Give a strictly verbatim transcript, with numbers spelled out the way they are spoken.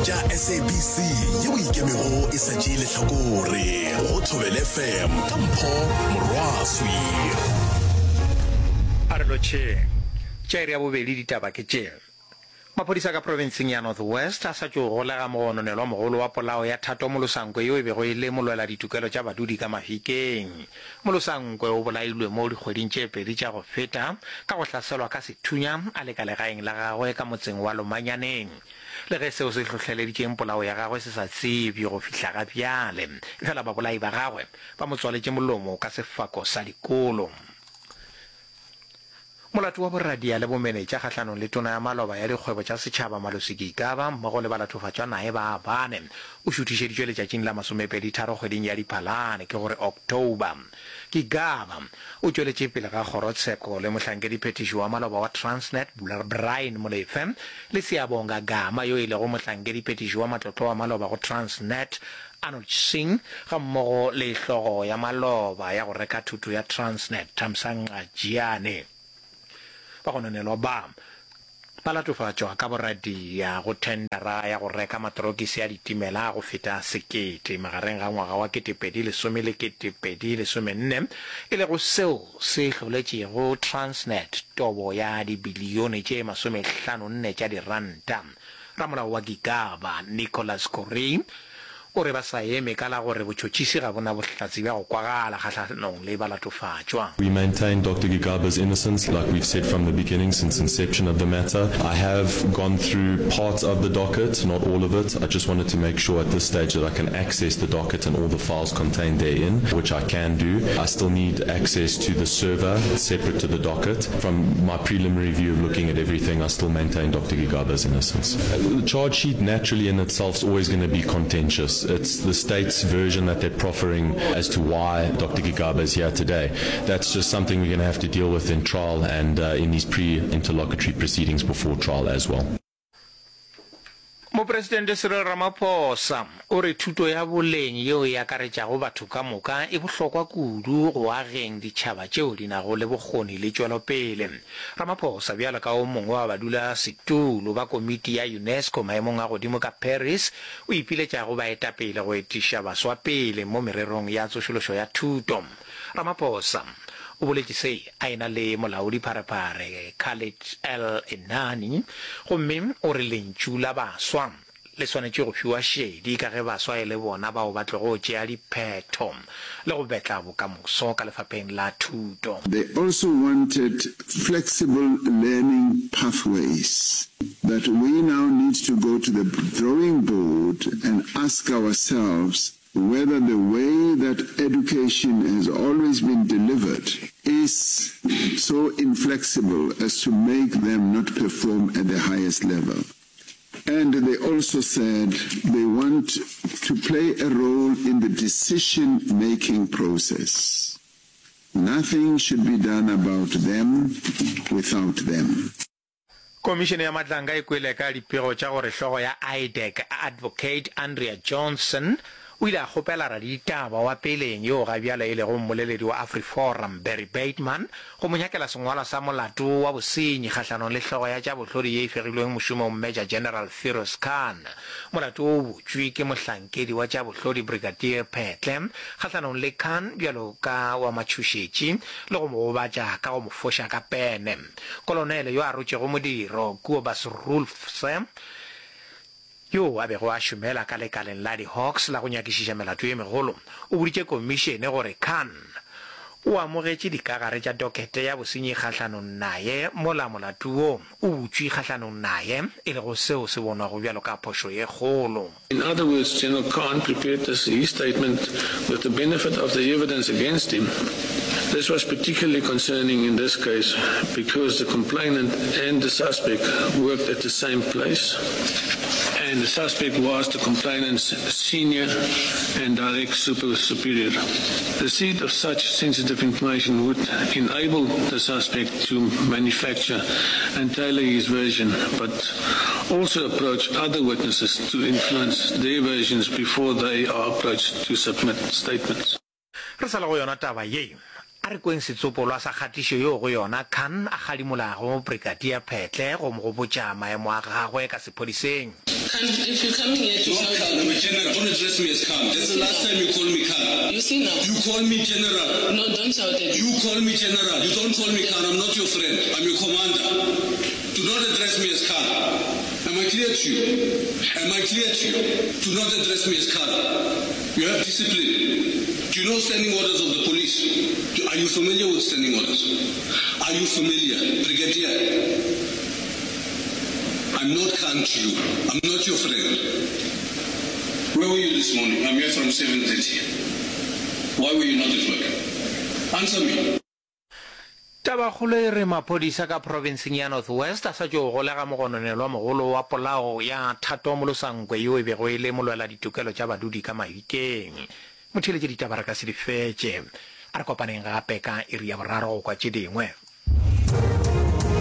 Tša S A B C yeo ikemego e sa tšee lehlakore go Thobela F M ka Mpho Morwaswi. A re lotšheng. Tša iri ya bobedi ditaba ke tše. Maphodisa ka profenseng ya North West a sa tšo golega mogononelwa mogolo wa polao ya Thato Molosankwe yo e bego e le molwela ditokelo tša badudi ka Mafikeng. Molosankwe o bolailwe mo dikgweding tše pedi tša go feta ka go hlaselwa ka sethunya a le ka legaeng la gagwe ka motseng wa Lomanyaneng. Le ge seo se hlohleleditšeng polao ya gagwe se sa tsebje go fihla ga bjale, efela babolai ba gagwe ba mo tswaletše molomo ka sefako sa dikolo. Molato wa boradia le bomenetša kgahlanong le tona ya maloba ya dikgwebo tša setšhaba Malusi Gigaba mmogo le balatofatšwa naye ba bane o šuthišeditšwe letšatšing la masomepedi tharo kgweding ya Diphalane, ke gore October. Gigaba o tšweletše pele ga kgorotsheko le mohlankediphethiši wa maloba wa Transnet Brian Molefe le Siyabonga Gama yo e lego mohlankediphethiši wa matlotlo wa maloba go Transnet Arnold Singh gammogo le hlogo ya maloba ya go reka thoto ya Transnet Thamsanqa Jiyane. Bagononelwa ba ba latofatšwa ka boradia go thendara ya go reka matorokisi a ditimela a go feta sekete magareng ga ngwaga wa ketepedi lesome le ketepedi lesomenne, e lego seo se hloletšego Transnet tobo ya dibilione tše masomehlano-nne tša diranta. Ramolao wa Gigaba Nicholas Corrie o re ba sa eme ka la gore botšhotšhisi ga bo na bohlatse bja go kwagala kgahlanong le balatofatšwa. We maintain Doctor Gigaba's innocence, like we've said from the beginning, since inception of the matter. I have gone through parts of the docket, not all of it. I just wanted to make sure at this stage that I can access the docket and all the files contained therein, which I can do. I still need access to the server separate to the docket. From my preliminary view of looking at everything, I still maintain Doctor Gigaba's innocence. The charge sheet naturally in itself is always gonna be contentious. It's the state's version that they're proffering as to why Doctor Gigaba is here today. That's just something we're gonna have to deal with in trial and, uh, in these pre-interlocutory proceedings before trial as well. Mopresidente Cyril Ramaphosa o re thuto ya boleng yeo e akaretšago batho ka moka e bohlokwa kudu go ageng ditšhaba tšeo di nago le bokgoni le tšwelopele. Ramaphosa bjalo ka o mongwe wa badulasetulo ba komiti ya UNESCO maemong a godimo ka Paris o ipiletša go baetapele go etiša baswa pele mo mererong ya tsošološo ya thuto. Ramaphosa o boletše se a ena le molaodi pharephare Khaled El Enani gomme o re lentšu la baswa le swanetše go fiwa šedi ka ge baswa e le bona bao ba tlogo tšea diphetho le go betla bokamoso ka lefapheng la thuto. They also wanted flexible learning pathways that we now need to go to the drawing board and ask ourselves whether the way that education has always been delivered is so inflexible as to make them not perform at the highest level. And they also said they want to play a role in the decision-making process. Nothing should be done about them without them. Komišene ya Matlanka e kwele ka dipego tša gore hlogo ya I D E C Advocate Andrea Johnson o ile a kgopela raditaba wa peleng yo ga bjale e lego mmoleledi wa AfriForum Barry Bateman go mo nyakela sengwalwa sa molato wa bosenyi kgahlanong le hlogo ya tša bohlodi ye e fegilweng mošomong Major General Firoz Khan. Molato wo o butšwe ke mohlankedi wa tša bohlodi Brigadier Phetle kgahlanong le Khan bjalo ka wa matšhošetši le go mo gobatša ka go mo foša ka pene. Kolonele yo a rotšego modiro Kobus Roelfse yo a bego a šomela ka lekaleng la di-Hawks la go nyakišiša melato ye megolo o boditše komišene gore Khan o amogetše dikagare tša dokete ya bosenyi kgahlanong naye mola molato wo o butšwe kgahlanong naye e lego seo se bonwago bjalo ka phošo ye kgolo. In other words, General Khan prepared this, his statement with the benefit of the evidence against him. This was particularly concerning in this case because the complainant and the suspect worked at the same place and the suspect was the complainant's senior and direct super superior. The receipt of such sensitive information would enable the suspect to manufacture and tailor his version, but also approach other witnesses to influence their versions before they are approached to submit statements. Re sa le go yona taba ye, A re kweng setsopolwa sa kgatišo yeo go yona Khan a kgadimolago Brigadier Phetle go mo gopotša maemo a gagwe ka sephodiseng. Khan, if you're coming here to Not shout Khan, at I'm me. a general. Don't address me as Khan. That's You the see last now. time you call me Khan. You see now. You call me general. No, don't shout at me. You call me general. You don't call me Khan. I'm not your friend. I'm your commander. Do not address me as Khan. Am I clear to you? Am I clear to you? Do not address me as Khan. You have discipline. Do you know standing orders of the police? Do, are you familiar with standing orders? Are you familiar? Brigadier, I'm not Khan to you. I'm not your friend. Where were you this morning? I'm here from seven thirty. Why were you not at work? Answer me. Tabakgolo e re maphodisa ka profenseng ya North West a sa tšo golega mogononelwa mogolo wa polao ya Thato Molosankwe yo e bego e le molwela ditokelo tša badudi ka Mahikeng. Motheeletši ditaba re ka se di fetše. A re kopaneng gape ka iri ya boraro go kwa tše dingwe.